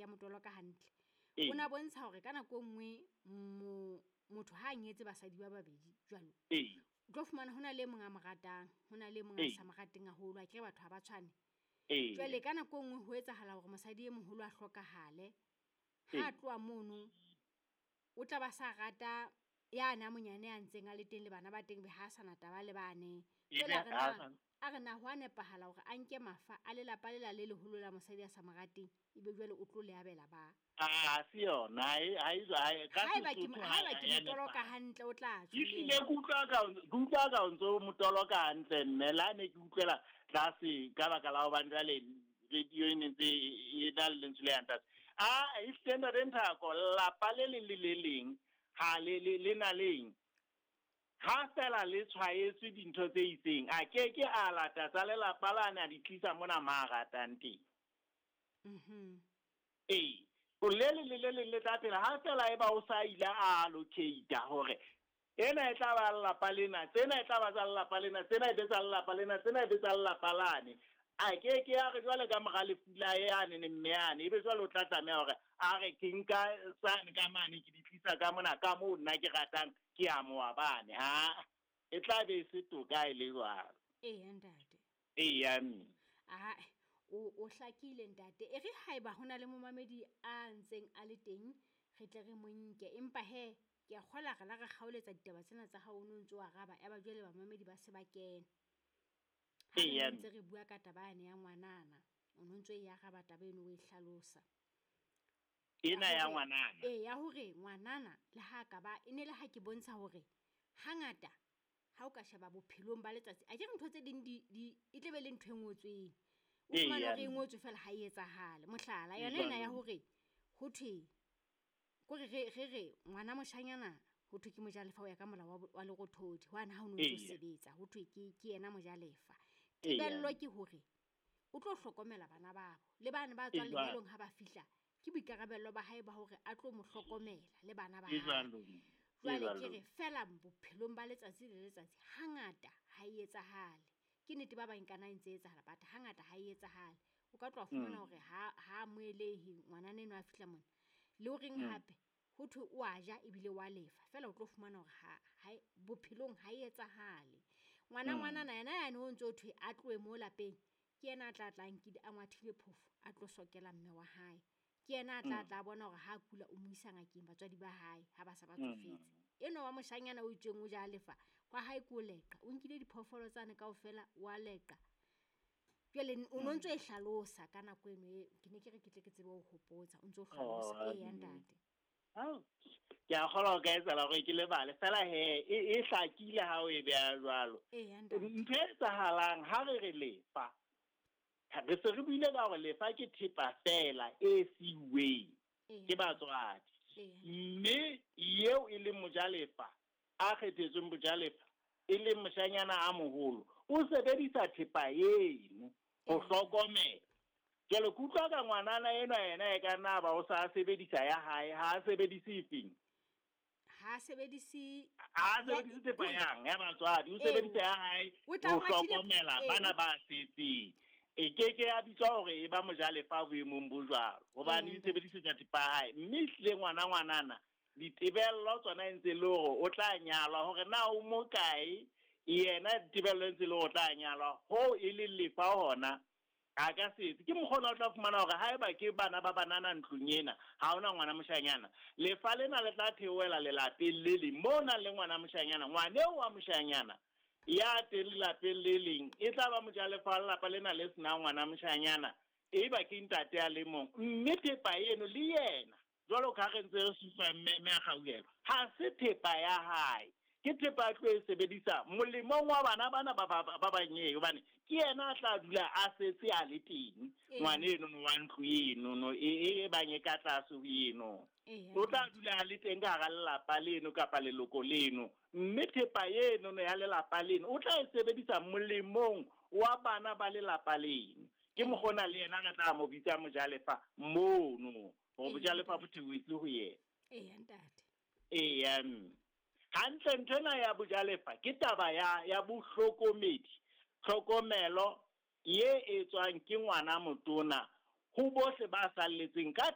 ke a motoloka hantle. O na bontsha hore ka nako e nngwe motho ha a nyetse basadi ba babedi jwalo. O tlo fumana hona le e mong a mo ratang, hona le e mong a sa mo rateng haholo, akere batho ha ba tshwane. Jwale ka nako e nngwe ho etsahala hore mosadi e moholo a hlokahale. Ha a tloha mono, o tla ba sa rata yane a monyane a ntseng a le teng le bana ba teng be ha sa na taba le bane. Jwale a re na ho a nepahala hore a nke mafa a lelapa lela le leholo la mosadi a sa mo rateng, ebe jwale o tlo le abela ba. Ha se yona, ha e ka Haeba ke motoloka hantle o tla tjho. Ehlile ke utlwa ka o ntso motoloka hantle mme la ne ke utlwela tlase ka baka la hobane jwale radio e ne ntse e na le lentswe le yang tlase. A ehlile ntate Nthako, lelapa le leng le le leng ha le na leng ha fela le tshwaetswe dintho tse itseng, a ke ke a lata tsa lelapa lane a di tlisa mona ma ratang teng. Ee, o le leng le le leng le tla phela ha fela eba o sa ile a allocate hore ena e tla ba lelapa lena, tsena e tla ba tsa lelapa lena, tsena e be tsa lelapa lena, tsena e be tsa lelapa lane. A ke ke a re jwale ka mora lefu la yane ne mme yane, ebe jwale o tla tlameha hore a re ke nka sane ka mane ke di tlisa ka mona ka moo nna ke ratang ke a mowa bane. Ha e tla be e se toka e le jwalo. Eya ntate. Eya mme. Ae, o hlakile ntate. E re haeba hona le momamedi a ntseng a le teng, re tle re mo nke. Empa he, ke a kgola re la re kgaoletsa ditaba tsena tsa hao o no ntso araba, ya ba jwale bamamedi ba se ba kena. Ha re ntse re bua ka taba yane ya ngwanana, o no ntso e araba taba eno o e hlalosa. Ena ya ngwanana. Ee, ya hore ngwanana le ha ka ba e ne le ha ke bontsha hore hangata ha o ka sheba bophelong ba letsatsi, a ke re ntho tse ding di e tle be le ntho e ngotsweng. O fumane hore e ngotswe fela ha e etsahale. Mohlala, yona ena ya hore ho thwe kore re ngwana moshanyana ho thwe ke mojalefa ho ya ka molao wa lerothodi, hwane ha o no ntso sebetsa, ho thwe ke yena mojalefa. Tebello ke hore o tlo hlokomela bana babo le bana ba tswang lenyalong ha ba fihla, ke boikarabello ba hae ba hore a tlo mo hlokomela le bana ba hae. Jwale ke re fela bophelong ba letsatsi le letsatsi hangata ha e etsahale. Ke nnete ba bang kana e ntse etsahala, but hangata ha e etsahale. O ka tloha fumana hore ha amohelehe ngwanana enwa a fihla mona. Le horeng hape ho thwe o a ja ebile wa lefa, fela o tlo fumana hore ha bophelong ha e etsahale. Ngwana ngwanana yena yane o ntso thwe a tlohe mo lapeng, ke yena a tla tla nkile a ngwathile phofo a tlo sokela mme wa hae. Ke yena a tla tla bona hore ha kula o mo isa ngakeng batswadi ba hae ha ba sa ba tsofetse. Enwa wa moshanyana o itsweng o ja lefa kwa hae ko leqa, o nkile diphoofolo tsane kaofela wa leqa. Jwale o no ntso e hlalosa ka nako eno e ke ne ke re ke tle ke tsebe ho hopotsa, o ntso hlalosa. Eya ntate. Ke a kgolwa ho ka etsahala hore ke lebale fela he e hlakile ha o e beha jwalo. Ntho e etsahalang ha re re lefa, re se re buile ka hore lefa ke thepa fela e siuweng ke batswadi, mme eo e leng mojalefa a kgethetsweng bojalefa e leng moshanyana a moholo, o sebedisa thepa eno ho hlokomela. Jwale ke utlwa ka ngwanana enwa yena e ka nna ba o sa sebedisa ya hae, ha a sebedise efeng? Ha sebedise thepa yang ya batswadi, o sebedisa ya hae ho hlokomela bana ba setseng. E ke ke ya bitswa hore e ba mojalefa boemong bo jwalo, hobane e sebedisetsa thepa ya hae. Mme ehlile ngwana ngwanana ditebello tsona e ntse le hore o tla nyalwa, hore na o mo kae yena ditebello e ntse le hore o tla nyalwa, hoo e leng lefa hona a ka setse. Ke mokgona o tla fumana hore haeba ke bana ba banana ntlong ena, ha hona ngwana moshanyana, lefa lena le tla theohela lelapeng le leng moo nang le ngwana moshanyana. Ngwana eo wa moshanyana ya teng lelapeng le leng e tla ba mojalefa wa lelapa lena le senang ngwana moshanyana, eba ke ntate a le mong. Mme thepa eno le yena jwalo ka ha re ntse re supa mme a kgauhelwa, ha se thepa ya hae, ke thepa a tlo e sebedisa molemong wa bana bana ba banyeng, hobane ke yena a tla dula a setse a le teng ngwana eno wa ntlo eno e bang e ka tlase ho eno, o tla dula a le teng ka hara lelapa leno kapa leloko leno, mme thepa eno ya lelapa leno o tla e sebedisa molemong wa bana ba lelapa leno. Ke mokgona le yena re tla mo bitsa mojalefa mono, hore bojalefa bo theohetse ho yena. Eya ntate. Eya mme. Hantle ntho ena ya bojalefa ke taba ya bohlokomedi, tlhokomelo ye etswang ke ngwana motona ho bohle ba salletseng ka